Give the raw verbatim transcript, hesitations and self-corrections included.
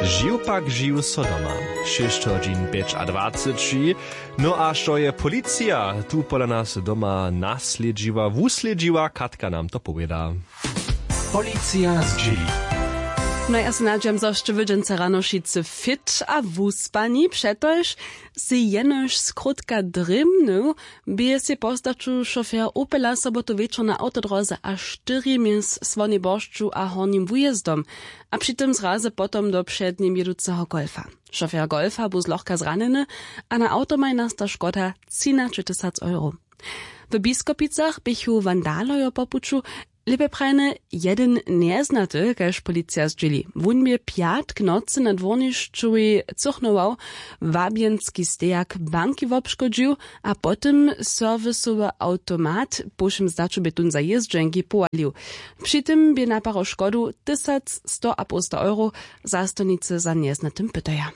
Žiw pak žiw so doma. Šěsć hodźin pjećadwaceći. No a što je policija tu pola nas doma naslědźiła wuslědźiła, Katka nam to powěda. Policija zdźěli. No ja se nadźam zo sće wydźenca rano wšitcy fit a wuspani přetož sej jenož skrótka drěmnył, bě sej postaću šofer opela sobotu wječor na awtodróze a štyri mjez słonej boršću a hornim wujězdom, a při tym zrazy potom do přednim jěduceho golfa. Šofer golfa bu zlochka zranjeny a na awtomaj nasta škoda třinaćetysac euro. W biskopicach běchu wandalojo po puću, lěpje prajene jedyn njeznaty kaž policija zdźěli. Wón bě pjatk nocy na dwórnišćowej cychnował, wabjenski stejak banki wobškodźił a po tym serwisowy awtomat po wšěm zdaću bě tón za jězdźenki powalił. Při tym bě naparo škodu tysac sto a połsta euro. Zastojnicy za njeznatym pytaja.